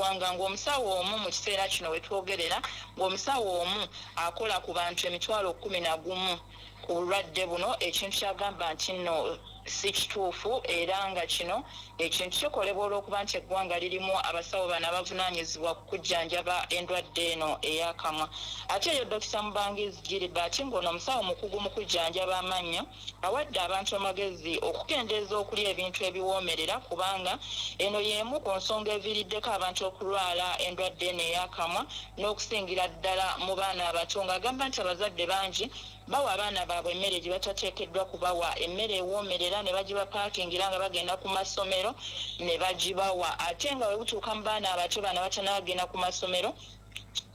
ggwanga, ng'omusawo omu mu kiseera kino wetwogerera, ng'omusawo omu akola ku bantu 11,000 ku bulwadde buno, ekintu kyagamba nti nno si kituufu, era nga kino ekintu kikolebwa olw'okuba nti eggwanga lirimu abasawo bano abavunaanyizibwa ku kujjanjaba endwadde eno ey'akamwa. Ate eyo Dokita Mubangizi Gilbert, ng'ono omusawo mukugu mu kujjanjaba amannyo, awadde abantu amagezi okukendeeza okulya ebintu ebiwoomerera, kubanga eno y'emu ku nsonga eviiriddeko abantu okulwala endwadde eno ey'akamwa, n'okusingira ddala mu baana abato, ng'agamba nti abazadde bangi bawa abaana baabwe emmere gye batateekeddwa kubawa, emmere ewoomerera ne bagibapaakingira nga bagenda ku masomero ne bagibawa, ate nga bwe butuuka mu baana abato bano abatannabagenda ku masomero.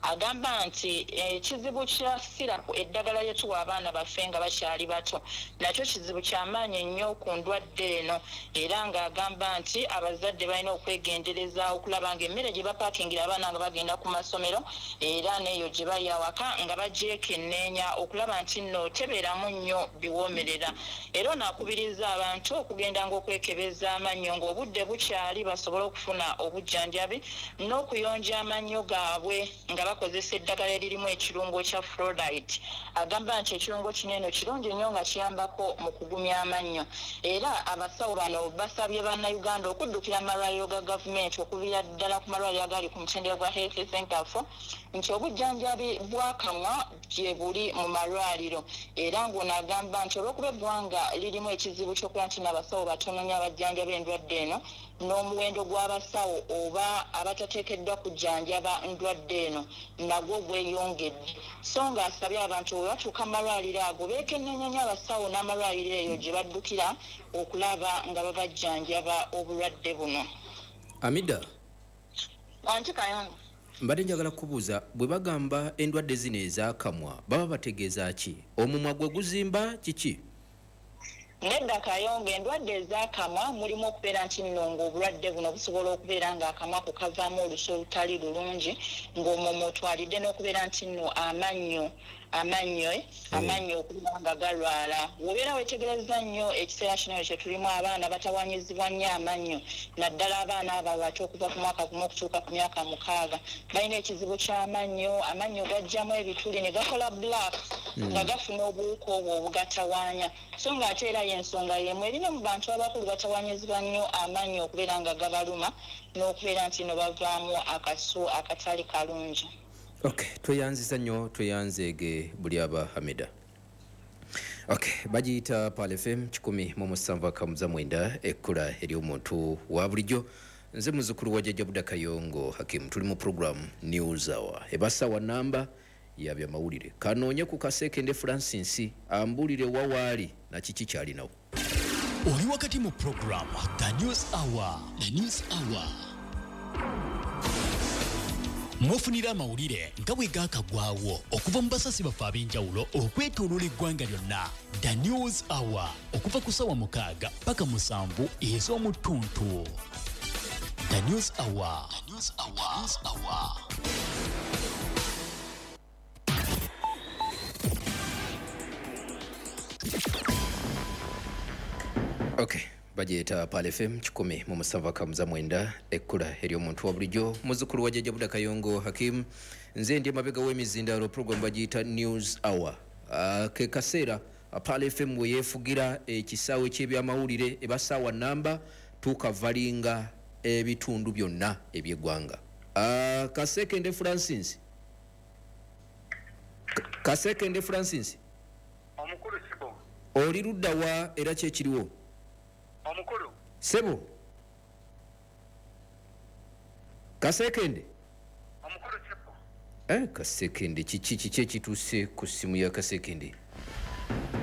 Agamba nti ekizibu kya syrup, eddagala lye tuwa abaana baffe nga bakyali bato, nakyo kizibu kyamaanyi nnyo ku ndwadde eno, era ng'agamba nti abazadde balina okwegendereza okulaba ng'emmere gye bapaakingira abaana nga bagenda ku masomero era n'eyo gye bali awaka nga bagyekenneenya okulaba nti nno tebeeramu nnyo biwoomerera. Era ono akubiriza abantu okugendanga okwekebeza amannyo ng'obudde bukyali, basobole okufuna obujjanjabi n'okuyonja amannyo gaabwe nga bakozesa eddagala eririmu ekirungo kya fluoride. Agamba nti ekirungo kino eno kirungi nnyo nga kiyambako mu kugumya amannyo. Era abasawo bano basabye bannayuganda okuddukira amalwaliro ga gavumenti, okuviira ddala ku malwaliro agali ku mutendera gwa health center 4, nti obujjanjabi bw'akamwa gye buli mu malwaliro. Era ng'ono agamba nti olw'okuba eggwanga lirimu ekizibu ky'okuba nti n'abasawo batono nnyo abajjanjaba endwadde eno, n'omuwendo gw'abasawo oba abatateekeddwa kujjanjaba ndwadde eno nagwo gweyongedde, so ng'asabye abantu bwe batuuka mu malwaliro ago beekenneenya nnyo abasawo n'amalwaliro eyo gye baddukira okulaba nga babajjanjaba obulwadde buno. Amida. Wanti Kayongo. Mbadde njagala kubuuza, bwe bagamba endwadde zino ez'akamwa baba bategeeza ki? Omumwa gwe guzimba kiki? Nedda Kayongo, endwadde ez'akamwa mulimu okubeera nti nno ng'obulwadde buno busobola okubeera ng'akamwa ko kavaamu olusu olutali lulungi, ng'omwo mw'otwalidde n'okubeera nti nno amannyo okubeera nga galwala. Bw'obeera weetegereza nnyo ekiseera kino kye tulimu, abaana batawaanyizibwa nnyo amannyo, naddala abaana abo abato okuva ku mwaka 1 okutuuka ku myaka 6 balina ekizibu ky'amannyo. Amannyo gajjamu ebituli ne gakola black nga gafuna obuwuka obwo obugatawaanya, so ng'ate era y'ensonga y'emu erina mu bantu abakulu batawaanyizibwa nnyo amannyo okubeera nga gabaluma n'okubeera nti no bavaamu akasu akatali kalungi. Okay, tweyanziza nnyo, tweyanzeege buli aba Hamida. Okay, bagiyita Pearl FM 107.9, ekkula ery'omuntu wa bulijjo. Nze muzukulu wa Jjajja Buda Kayongo Hakim. Tuli mu program News Hour, eba ssaawa namba ya byamawulire. Kanoonye ku Kasekende Francis ambuulire wa waali na kiki kyalinawo. Oli wakati mu program The News Hour. The News Hour. Mwofunira amawulire nga bwe gaakagwawo okuva mu basasi baffe ab'enjawulo okwetooloola eggwanga lyonna. The News Hour okuva ku ssaawa 6 paka 7 ez'omuttuntu. The News Hour. The News Hour. The News Hour. Okay, bagiyita Pearl FM 107.9, ekkula ery'omuntu wa bulijjo. Muzzukulu wa Jjajja Buda Kayongo Hakim. Nze ndi emabega w'emizindaalo. Program bagiyita News Hour. Ke kaseera Pearl FM we yeefugira ekisaawe ky'ebyamawulire. Eba ssaawa namba tukavalinga ebitundu byonna eby'eggwanga. Kasekende Francis, Kasekende Francis. Omukulu Sibo. Oli ludda wa era ki ekiriwo? Omukulu. Sebo. Kasekende. Omukulu Sibo. Kasekende, kiki ekituuse ku ssimu ya Kasekende?